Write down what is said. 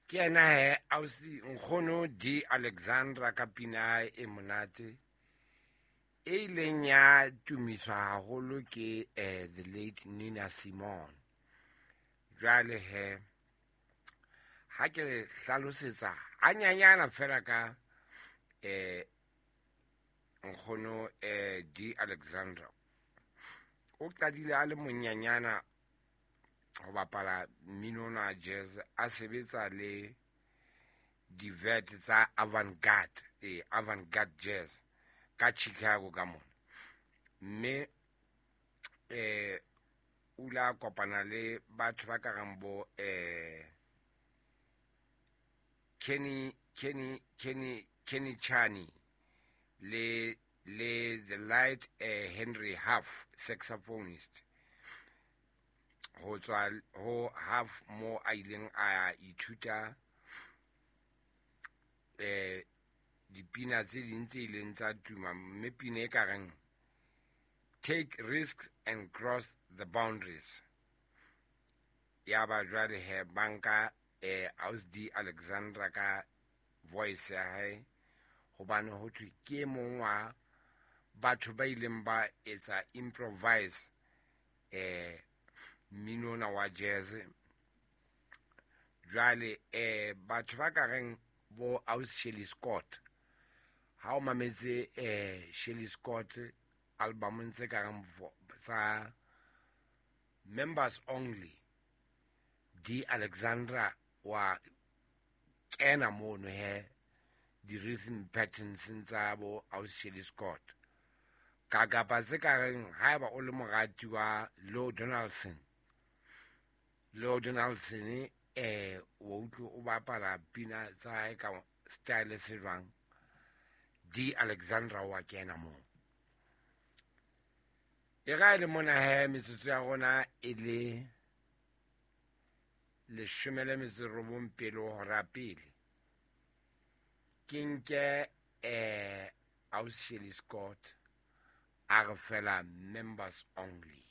Ke yena he ausi Nkgono D Alexandra ka pina ya hae e monate e ileng ya tumiswa haholo ke the late Nina Simone. Jwale he ha ke le hlalosetsa hanyanyana fela ka Nkgono D Alexandra, o qadile a le monyanyana ho bapala mmino ona wa jazz, a sebetsa le divet tsa avant-garde, avant-garde jazz ka Chicago ka mona. Mme o ile a kopana le batho ba ka reng bo Kenny Chani le the late Henry Huff, saxophonist, ho tswa ho Huff mo a ileng a ithuta dipina tse ding tse ileng tsa tuma, mme pina e ka reng Take Risks and Cross the Boundaries. Ya ba jwale he banka Aus D Alexandra ka voice ya hae, hobane ho thwe ke e mong wa batho ba ileng ba etsa improvise mmino ona wa jazz. Jwale batho ba ka reng bo Aus Shirley Scott, ha o mametse Shirley Scott albumong tse ka reng tsa Members Only, D Alexandra wa kena mono he di-rhythm patterns tsa bo Aus Shirley Scott. Ka kapa tse ka reng haeba o le morati wa Lou Donaldson, Lou Donaldson o utlwe o bapala pina tsa hae ka style se jwang, D Alexandra wa kena moo. E ra le mona he metsotso ya rona e le 18 pele ho hora pele. Ke nke Aus Shirley Scott a re fela Members Only.